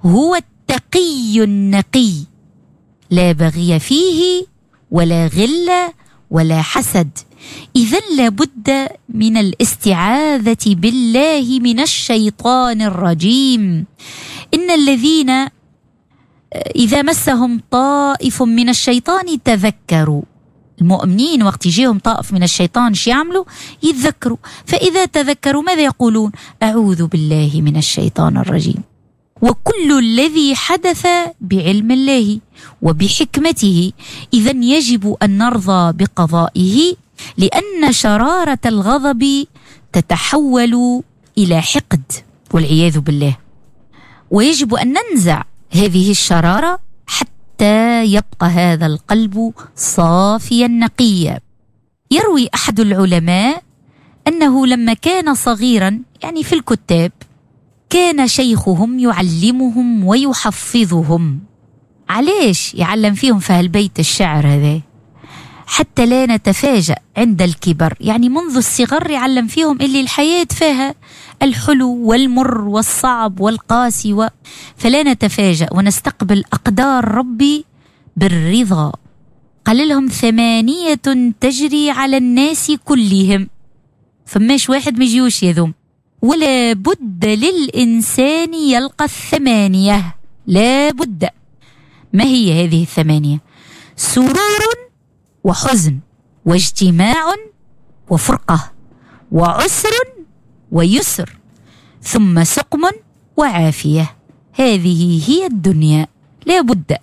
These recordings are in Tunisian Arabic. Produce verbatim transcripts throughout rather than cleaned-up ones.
هو التقي النقي، لا بغي فيه ولا غل ولا حسد. إذن لابد من الاستعاذة بالله من الشيطان الرجيم. إن الذين إذا مسهم طائف من الشيطان تذكروا. المؤمنين وقت يجيهم طائف من الشيطان شو يعملوا؟ يتذكروا. فإذا تذكروا ماذا يقولون؟ أعوذ بالله من الشيطان الرجيم. وكل الذي حدث بعلم الله وبحكمته، إذن يجب أن نرضى بقضائه، لأن شرارة الغضب تتحول إلى حقد والعياذ بالله، ويجب أن ننزع هذه الشرارة حتى يبقى هذا القلب صافيا نقيا. يروي أحد العلماء أنه لما كان صغيرا، يعني في الكتاب، كان شيخهم يعلمهم ويحفظهم. علاش يعلم فيهم في هالبيت الشعر هذا؟ حتى لا نتفاجأ عند الكبر، يعني منذ الصغر يعلم فيهم اللي الحياة فيها الحلو والمر والصعب والقاسي و... فلا نتفاجأ ونستقبل أقدار ربي بالرضا. قال لهم ثمانية تجري على الناس كلهم، فماش واحد ما يجيوش يذوم، ولا بد للإنسان يلقى الثمانية، لا بد. ما هي هذه الثمانية؟ سرور وحزن واجتماع وفرقة وعسر ويسر، ثم سقم وعافية. هذه هي الدنيا، لا بد.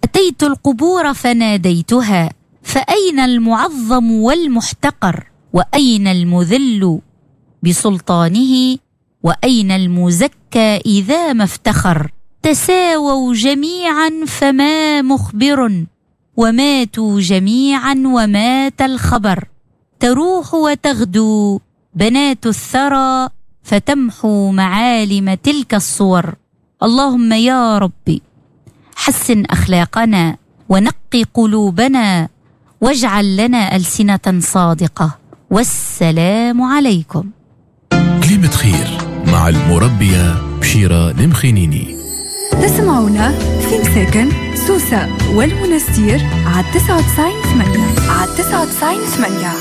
أتيت القبور فناديتها، فأين المعظم والمحتقر؟ وأين المذل بسلطانه؟ وأين المزكى إذا ما افتخر؟ تساووا جميعا فما مخبر، وماتوا جميعا ومات الخبر. تروح وتغدو بنات الثرى، فتمحو معالم تلك الصور. اللهم يا ربي حسن أخلاقنا ونقي قلوبنا، واجعل لنا ألسنة صادقة. والسلام عليكم. كلمة خير مع المربية بشيرة المخينيني. تسمعونا في مساكن سوسة والمنستير على تسعة وتسعين ثمانية، على تسعة وتسعين ثمانية.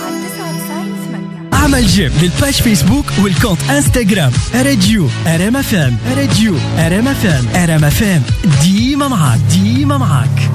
اعمل j'aime لل page فيسبوك وال compte انستغرام راديو ار ام اف ام، راديو ار ام اف ام، ار ام اف ام ديما معاك، ديما معاك.